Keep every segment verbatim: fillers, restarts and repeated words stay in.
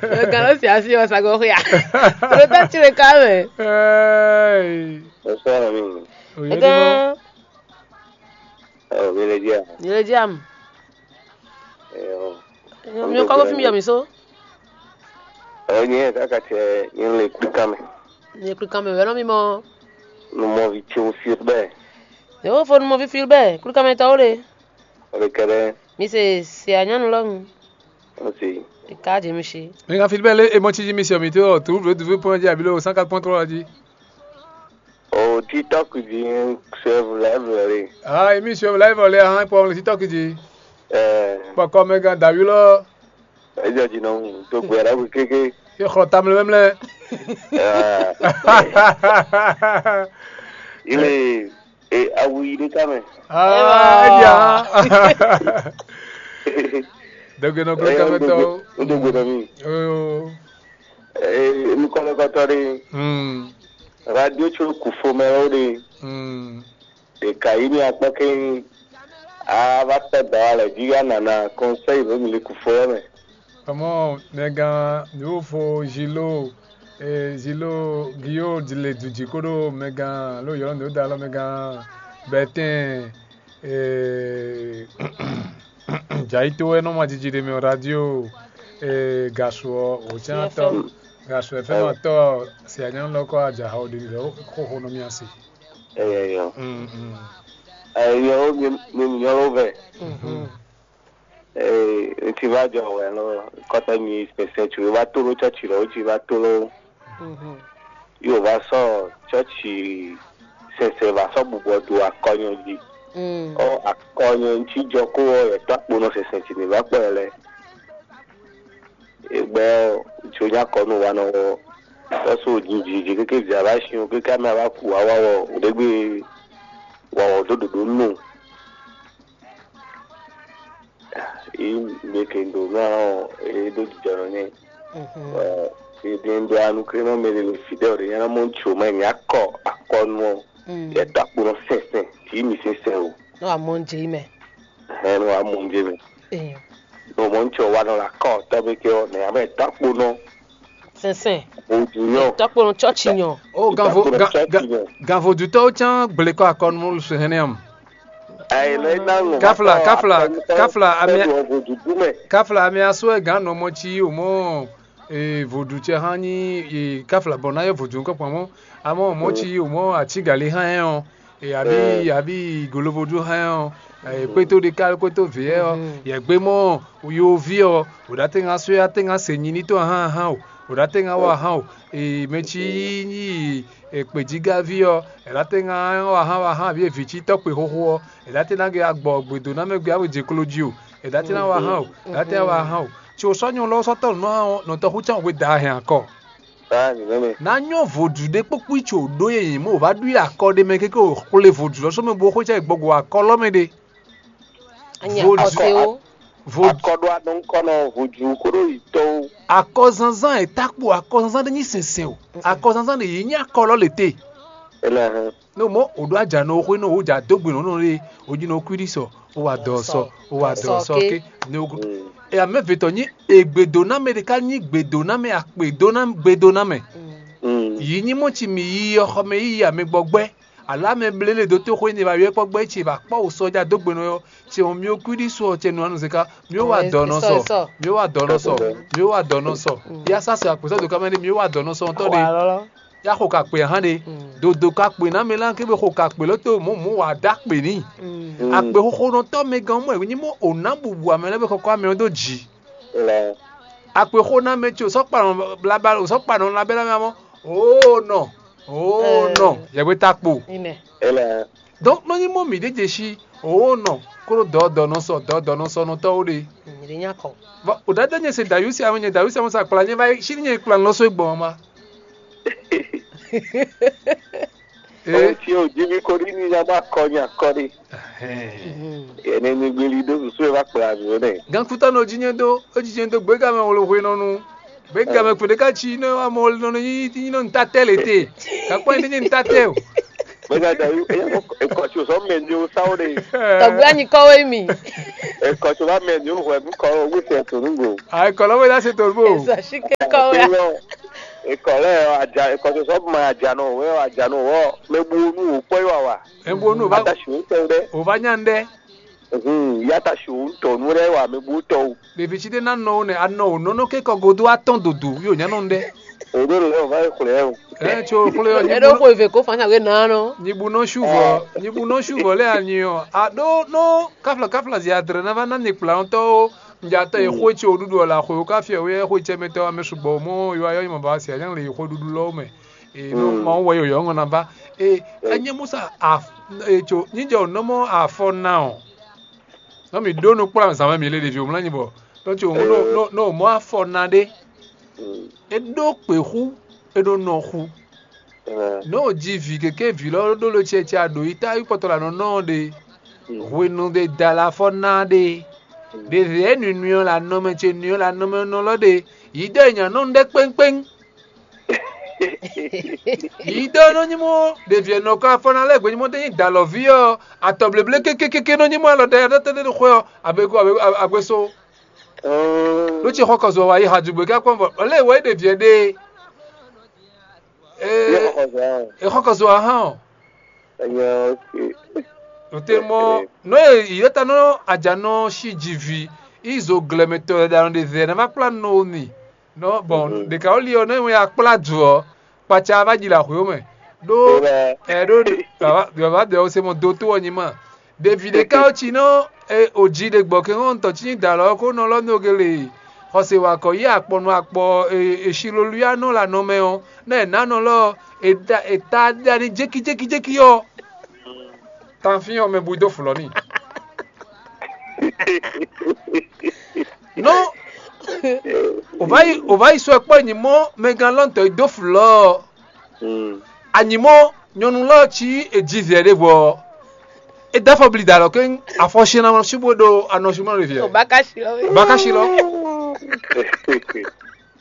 Gǎn lɔ si asi wɔ sago xia. Ɖo tá tsi ɖeka mɛ. Hey. Bonsoir, ami. Oye de. Gán. Oh, mi le dia. Yele diam. Eh, oh. Mi kɔkɔ fi mi yɔ mi so. Oh, nye kaka tse nye le kuka me. Nye kuka me wɛlɔ mi mɔ. Nu mɔ vi tse o fi bɛ. Yo fo nu mɔ fi fi bɛ kuka me tɔ o le. O le kɛdɛ. Mi se se anyanu lɔ nu. O se. Ika je mi si. Mi ka fi bɛ le emɔ tsi ji mi se mi to tu vle du vle pɔn ji abilo cent quatre point trois ji. O TikTok jí suivre live lɛ. Ah, emi suivre live lɛ hã pɔ le TikTok jí. Eh. Pɔ kɔ mɛ gan davi lɔ. Ejɔ jí nɔ tó gbé ara wí kéké. Ye xɔ tam le mɛmlɛ. Ah. Il est et awu yi ɖé ká mɛ. Ah, eya. Dɔgbe nɔ klo ká mɛ tɔ. O dɔgbe nɔ mi. Oyo. Eh, nukɔnɔkɔtɔ ɖe. Hmm. Radio tso kufo mɛ wo ɖe. Hmm. Ɖeka yi mi akpɔ ke a va tɔ dɔ alɛ jí ya nana conseil ɖo mi le kufo yɛ mɛ. Ọmọ mẹgan yóò fo zilo, eh, zilo giyo le dùjì kó ɖo mẹgan ló yọrọ ní ó da alɔ mẹgan bẹtẹn, eh, jayito wɛ nɔ ma jiji ɖe mɛ radio, eh, gasu ɔ wòcɛn atɔ, gasu ɛfɛ nɔ atɔ si anyɔ lɔ kɔ ajaha ɔ ɖe lɛ xóxó nɔ mia si. Eyɔ. Mm, mm. Eyɔ mi mi nyɔ ló vɛ. Mhm. Ee, ŋutsi va jɔ wɛ lɔ kɔtɛ mi sɛsɛ tsu va to ɖo tsɔtsi lɔ ŋutsi va to ɖo. Mhm. Yóò va sɔ tsɔtsi sɛsɛ va sɔ bubɔ do akɔnyɔ jí. Mm. Ɔ akɔnyɔ ŋutsi jɔ kó ɔ yɛ tɔ akpo nɔ sɛsɛ tsi mi va kpɔ yɛ lɛ. Egbɛ ɔ, ŋutsu nya kɔ nú wa nɔ ɔ, tɔ́sú jinjinjin kéké vǐ a va sin ɔ kéké amɛ a va ku wa wa wɔ ɖěgbé wa wɔ dó ɖoɖó nú. Yi mɛ ke ndo nú ɔ é ɖó jijɔ nɔ nɛ. Ɔ é ɖe ndo anu kre nɔ mɛ ɖe le fi ɖe ɔ ɖe nyɛ nɔ mɔ ŋutsu mɛ nya kɔ akɔnu ɔ yɛ dó akpo nɔ sɛnsɛn tí mi sɛnsɛn o. Nɔ amɔ ń jẹ mɛ. Hɛn nɔ amɔ ń jẹ mɛ. Nɔ mɔ ŋutsu wa nɔ la kɔ tɔbɛ ke ɔ nɛ amɛ dó akpo nɔ. Sɛnsɛn. Ojú yɔ. Dó akpo nɔ tsɔtsi nyɔ. O ganvo ganvodutɔwo tsán gblekɔ akɔnu sɛ hɛnɛ am. Ayi lɛ na ŋɔ. Kafla kafla kafla amia. Kafla amia sɔ ɛ gan nɔ mɔ tsi o mɔ. Ee, vodúntsɛ hã nyí ee, káfla bɔ ná yɔ vodún kɔkpɔn mɔ amɔ mɔ tsi o mɔ atígali hã ɛ ɔ ee, àbí àbí golovodún hã ɛ ɔ ee, kpétó ɖe ká kpétó vǐ ɛ ɔ yɛgbé mɔ yoví ɔ wòɖá tɛ́ ŋá sɔ́ yá tɛ́ ŋá se nyi ní tɔn hã hã o wòɖá tɛ́ ŋá wa hã o ee, mɛ tsi nyí ee, kpějígáví ɔ è ɖá tɛ́ ŋá wa hã wa hã àbí vǐ tsi tɔ́ kpé xóxó ɔ è ɖá tɛ́ ná gé agbɔ gbědó ná mɛ gbé awe jɛ klo jí o è ɖá tɛ́ ná wa hã o è ɖá tɛ́ ná wa hã o. Tso sɔ́ nyɔlɔ sɔ́ tɔ́ nǔ nɔ tɔxú tɔn we da hɛn akɔ. Ná nyɔ́ vodù ɖé kpókpó tso ɖó yě nyí mɔ wá ɖu akɔ ɖé mɛ kéké xwlé vodù lɔ sɔmɛ bó xwé cɛ gbɔgbɔ akɔ lɔ mɛ ɖé. Vodù akɔ ɖó anɔ ŋkɔ nɔ vodù kó ɖó yi tɔwo. Akɔzanzan e takpo akɔzanzan ɖé nyí sɛnsɛn o. Akɔzanzan ɖé yě nyí akɔ lɔ lě te. Ele hɛn. No mɔ o ɖo aja nɔ xwe nɔ o ja dó gbe nɔ nɔ ɖe o dzi nɔ kú ɖi sɔ o wa dɔ sɔ o wa dɔ sɔ ke ne o. E amɛ vetɔ nyi egbedo na mɛ ɖeka nyi gbedo na mɛ akpe do na gbedo na mɛ. Yi nyi mɔ tsi mi yi yɔ xɔ mɛ yi amɛ gbɔ gbɛ alo amɛ blele do to xwe ne ba yɔ kpɔ gbɛ tsi ba kpɔ o sɔ ja dó gbe nɔ yɔ tsi o mi o kú ɖi sɔ tse nu anu zeka mi o wa dɔ nɔ sɔ mi o wa dɔ nɔ sɔ mi o wa dɔ nɔ sɔ ya sa sɛ akpɛsɔ do kamɛ ne mi o wa dɔ nɔ sɔ ntɔ de. Ya xo ka kpe ahan ɖe dodo ka kpe na mɛ lan kebe xo ka kpe lɔ to mɔ mɔ wa da kpe ni akpe xoxo nɔ tɔ mɛ gan mɔ nyi mɔ o na bubu amɛ lɛ be kɔkɔ amɛ do ji akpe xo na mɛ tso sɔ kpa nɔ blabla o sɔ kpa nɔ labɛ la mɛ mɔ o nɔ o nɔ yɛgbe ta kpo donc nɔ nyi mɔ mi ɖe dze si o nɔ kó dɔ dɔ nɔ sɔ dɔ dɔ nɔ sɔ nɔ tɔwo ɖe. Bon, o dada nye se dayusi ame nye dayusi ame sa kpla nye va si nye kpla nɔ so gbɔn ma. Ee. Ohun tí o jí mi kó ní ní yá má kɔ ní akɔ ní. Yẹn ní ní gbélé dó sùsú ẹ bá kplá mi ó nẹ. Gankutɔ nɔ jí nyɛ dó, ó jí nyɛ dó gbéga mɛ wolo hwe nɔnu. Gbéga mɛ kpɛɖé ká tsi ní amɔ wolo nɔnu yí yí nɔ nta tɛ lé te. Kakpɔ yín ní nta tɛ o. Bɛgada yu, e kɔ tso sɔ mɛ ni o sa o de. Tɔgbɛ anyi kɔ wɛ mi. E kɔ tso ba mɛ ni o hwɛ bu kɔ o bu sɛ to nu go. Ayi kɔlɔ wɛ lase to bo. Esa si kɛ kɔ wɛ. E kɔ lɛ aja, e kɔ tso sɔ ma aja nɔ wɛ aja nɔ wɔ. Mɛ bu nu o kpɔ yi wa wa. Ebo nu o ba. Ata si o tɛ dɛ. O ba nya dɛ. Mhm, ya ta si o tɔ nu dɛ wa mɛ bu tɔ o. Ɖevi tsi ɖé ná nɔ wo nɛ anɔ wò nɔnɔ ké kɔ godo atɔn dodo yóò nyá nɔ ɖɛ. Òɖó lɛ ò va yi xwlɛ o. Ɛ tso xwlɛ ɔ Eɖo xo eve ko fan sa we na nɔ. Nyibu nɔ suvɔ nyibu nɔ suvɔ lɛ anyi ɔ aɖo nɔ kafla kafla zi adre na va na ni kpla ŋutɔ o. Nja tɔ yi xwe tso ɖuɖu ɔ la xwe o ka fiɛ wɛ xwe tsɛ mɛ tɔ ame sugbɔ mɔ yɔ ayɔ yi ma ba si anyɛ le yi xwe ɖuɖu lɔ mɛ. Ee nɔ ma wɔ yɔ yɔ ŋɔ na va. Ee enye musa af ee tso nyijɔ nɔmɔ afɔ na ɔ. Nɔ mǐ ɖó nukplɔ́n zǎn mɛ mǐ lé ɖevi wǒmlá nyi bɔ nɔ ce wǒ nɔ nɔ mɔ̌ afɔ ná ɖé. É ɖó kpě xú, é ɖó nɔ xú. Nɔ ò ji vǐ kéké vǐ lɔ ɖó lo cɛcɛ aɖǒ yi tá yi kpɔtɔ lǎ nɔ nɔ ɔ́ ɖe. Hwenu ɖe da la afɔ ná ɖe. Ɖe vǐ é nǔnywɛ́ ɔ́ lǎ nɔmɛ ce nǔnywɛ́ lǎ nɔmɛ nɔ lɔ ɖe. Yi ɖɔ è nya nɔ nu ɖé kpéŋkpéŋ. Yi ɖɔ nɔ nyi mɔ ɖevi ɛnɔ kɔ afɔ ná lɛ́ gbɛnyimɔ ɖe nyi dalɔví ɔ́ atɔ bleble kékékéké nɔ nyi mɔ alɔ ɖe ɖe tɛ́ ɖe xwɛ ɔ́ abe ko abe agbe so. Ɖó tsi xɔ kɔzɔ wa yi ha dugbe ká kpɔn bɔ ɔlɛ wɛ ɖevi ɛɖe. Ee exɔ kɔzɔ wa hã ɔ. Ote mɔ nɔ ye yɔta nɔ ajanɔ si dzi vi yi zo glɛmɛtɔ ɖaɖa ɖe vɛ na va kpla nɔ ni. Nɔ bɔn ɖeka woli ɔ nɔ ya kpla du ɔ kpatsa va dzi le axwe mɛ ɖó ɛ ɖó baba dɛ ɔ se mɔ do to ɔ nyi ma ɖevi ɖeka ɔ tsi nɔ o dzi ɖe gbɔ ke ŋɔ ŋutɔ tsi nyi da lɔ ko nɔ lɔ nɔ gele xɔse wa kɔ yi akpɔ nɔ akpɔ esi lolu ya nɔ la nɔ mɛ ɔ nɔ ɛ na nɔ lɔ eta ɖa ni jeki jeki jeki ɔ tanfin ɔ mɛ bu do fulɔ ni. Nɔ o va yi o va yi sɔ kpɔ nyi mɔ mɛgan lɔn tɔ yi do fulɔ ɔ anyi mɔ nyɔnu lɔ ci e ji vɛ ɖe vɔ e da fɔ bli da lɔ ke afɔ si na su bo ɖo anɔ su ma ɖe viɛ Obakashi lɔ. Baka si lɔ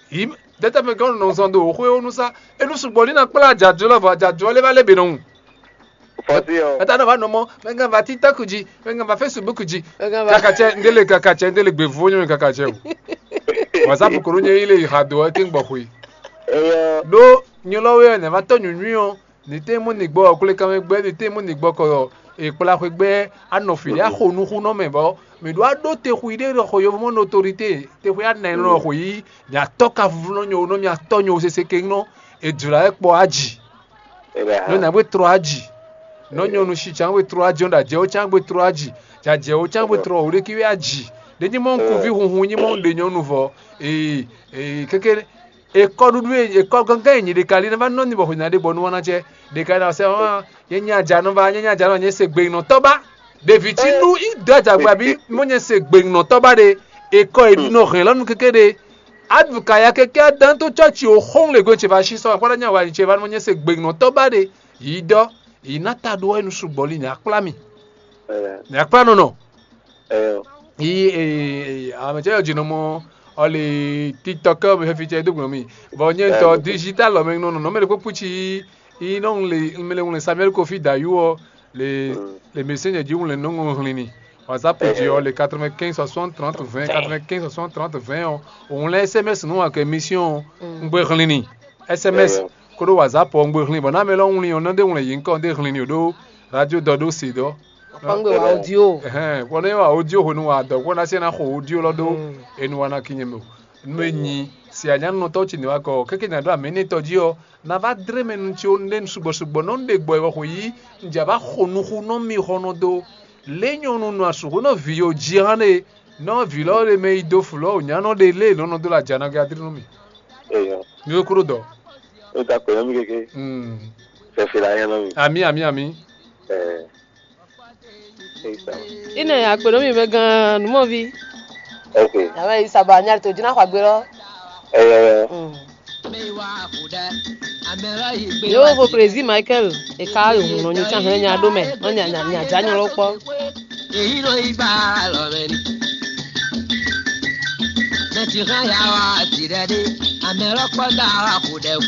yi dɛtɛ mɛ gɔn nɔ zɔn do o xwe o nu sa enu sugbɔ ni na kpla adzadzɔ lɔ vɔ adzadzɔ lɛ va lɛ be nɔ ŋu. Fɔsi ɔ. Eta nɔ va nɔ mɔ mɛgán va TikTok ji mɛgán va Facebook ji. Mɛgán va. Kakatsɛ ndele kakatsɛ ndele gbe vo nyɔ kakatsɛ o. WhatsApp koro nye yi le yi ha do ɛ ke gbɔ xwe. Eyɔ. Ɖo nyɔlɔwe ɔ nɛ va tɔ nyunyui ɔ ni te mu ni gbɔ ɔ kule kanwe gbɛ ni te mu ni gbɔ kɔ ɔ ekpla xwe gbɛ anɔ fi ya xo nuxu nɔ mɛ bɔ mi ɖo aɖo te xu yi ɖe xɔ yovomɔ notorité te xwe anɛ nɔ xwe yi mi atɔ ka vuvu nɔ nyo nɔ mi atɔ nyo sese ke nɔ edzra ɛ kpɔ aji. Nɔ nya gbé trɔ aji. Nɔ nyɔnu si tsan gbé trɔ aji nɔ ɖajɛ wo tsan gbé trɔ aji. Jajɛ wo tsan gbé trɔ wo ɖeki wɛ aji. Ɖe nyi mɔ nkuvi hunhun nyi mɔ ɖe nyɔnu vɔ. Ee ee keke ekɔ ɖuɖu ekɔ gángan yi nyi ɖeka li na va nɔ ni bɔ xɔ nya ɖe bɔ nu wana cɛ ɖeka na sɛ ɔn nyɛ nya dza nɔ va nyɛ nya dza nɔ nyɛ se gbe nɔ tɔ ba. Ɖevi tsi nu i dɔ adzagbe abi mɔ nyɛ se gbe nɔ tɔ ba ɖe ekɔ yi nɔ hɛn lɔnu keke ɖe. Advokaya keke adan to tsɔtsi o xɔn le gbe ce va si sɔ akpɔɖɔ nya wa ce va nɔ nyɛ se gbe nɔ tɔ ba ɖe. Yi dɔ yi na ta ɖo enu sugbɔ li nya kpla mi. Nya kpla nɔ nɔ. Yi ame tsɛ yɔ dzi nɔ mɔ ɔli TikTok mi fɛfi tsɛ do gblɔ mi. Bɔ nyɛ ŋutɔ digital lɔ mɛ nɔ nɔ mɛ ɖe kpokpo tsi yi nɔ ŋlɛ mɛ le ŋlɛ Samuel Kofi Dayu ɔ le le messenger ji ŋlɛ nɔ ŋlɛ hlin ni. WhatsApp ji ɔ le quatre-vingt-quinze soixante trente vingt quatre-vingt-quinze soixante trente vingt ɔ. Òun lɛ SMS nú wa kɛ mission ɔ. Un gbé hlin ni. SMS koɖo WhatsApp ɔ un gbé hlin bɔ ná mɛ lɔ ŋlin ɔ nɔ ɖe ŋlɛ yi ŋkɔ ɖe hlin ni ɖo radio dɔ ɖo se dɔ. Kpangbe wa audio. Ɛhɛn kpɔ ne wa audio hwenu wa dɔ kpɔ na se na xɔ audio lɔ ɖo enu wa na kinye mɛ o. Nu e nyi si anyanunɔtɔ tsi ne wa kɔ keke nya ɖo amɛ ne tɔ ji ɔ na va dre mɛ nu tsi o ne sugbɔ sugbɔ nɔ ɖe gbɔ ewɔ xɔ yi nja va xɔ nuxu nɔ mi xɔ nɔ do. Le nyɔnu nɔ asuxu nɔ vi yo ji hã ɖe nɔ vi lɔ ɖe mɛ yi do fu lɔ o nya nɔ ɖe le nɔ nɔ do la dza na gadri nɔ mi. Eyɔ. Mi wo kúrò dɔ. O ta kpɛ nɔ mi keke. Mm. Fɛfɛ la yɛ nɔ mi. Ami ami ami. Ɛɛ. Ine akpe nɔ mi mɛ gan numɔvi. Ok. Ame yi saba nya to dzi na xɔ agbe lɔ. Eyɔ. Mm. Yo vo président Michael e ka yo hun nɔ nyu tsan hɛn nya ɖo mɛ nɔ nya nya nya dza nyɔ lɔ kpɔ. Èyí ló yí gbà lọ bẹ ni. Mẹtì hàn yà wá tìrẹ dé, àmì ọlọ́pọ̀ dá wà kó dẹ o.